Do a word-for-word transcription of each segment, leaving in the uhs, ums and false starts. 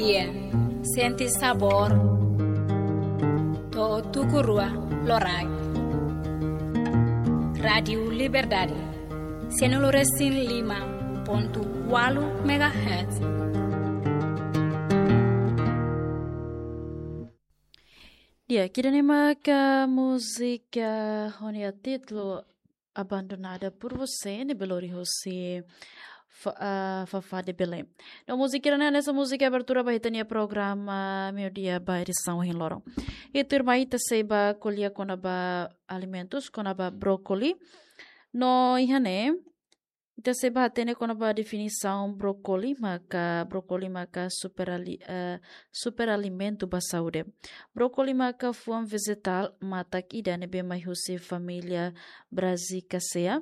Sente sabór to'o tuku rua loraik. Rádiu Liberdade, sianulu resin lima pontu ualu megahertz. Di'ak, ida-ne'e maka múzika ho nia títulu Abandonada por Você, ne'ebé lori husi Fa-, ah, Fafá de Belém. No múzika ida-ne'e hanesan múzika abertura ba ita-nia programa Meiudia ba edisaun ohin loron. I tuirmai ita sei bá ko'alia kona-ba alimentus, kona-ba brókoli. No iha ne'e, ita sei bá hatene kona-ba definisaun brókoli maka, brókoli maka superali-, eh, superalimentu ba saúde. Brókoli maka fuan vejetál matak ida ne'ebé mai husi família Brassicaceae.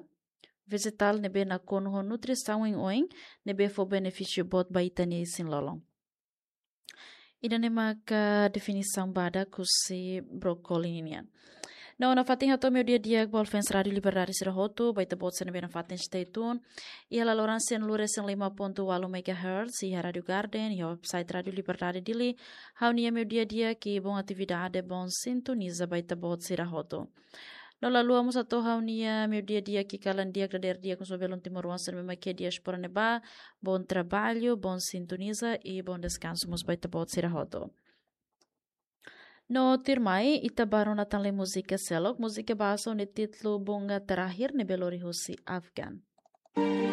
Vejetál ne'ebé nakonu ho nutrisaun oioin, ne'ebé fó benefísiu boot ba ita-nia isin-lolon. Ida-ne'e maka definisaun badak husi brókoli ninian. No nafatin hato'o Meiudia Di'ak ba fans Rádiu Liberdade sira hotu, ba ita-boot sira ne'ebé nafatin stay tune iha laloran sianulu resin lima pontu ualu megahertz, iha Rádiu Garden, iha website Rádiu Liberdade Dili. Ha'u-nia Meiudia Di'ak i boa atividade, boa sintoniza ba ita-boot sira hotu. No la haluha mós hato'o ha'u-nia Meiudia Di'ak i kalan di'ak dadeer di'ak husi belun timoroan sira ne'ebé mak iha diáspora ne'ebá, boa traballu, boa sintoniza i boa deskansu mós ba ita-boot sira hotu. No tuirmai, ita bá rona tan lee múzika seluk, múzika bahasa ho nia títulu Bunga Terakhir ne'ebé lori husi Afgan.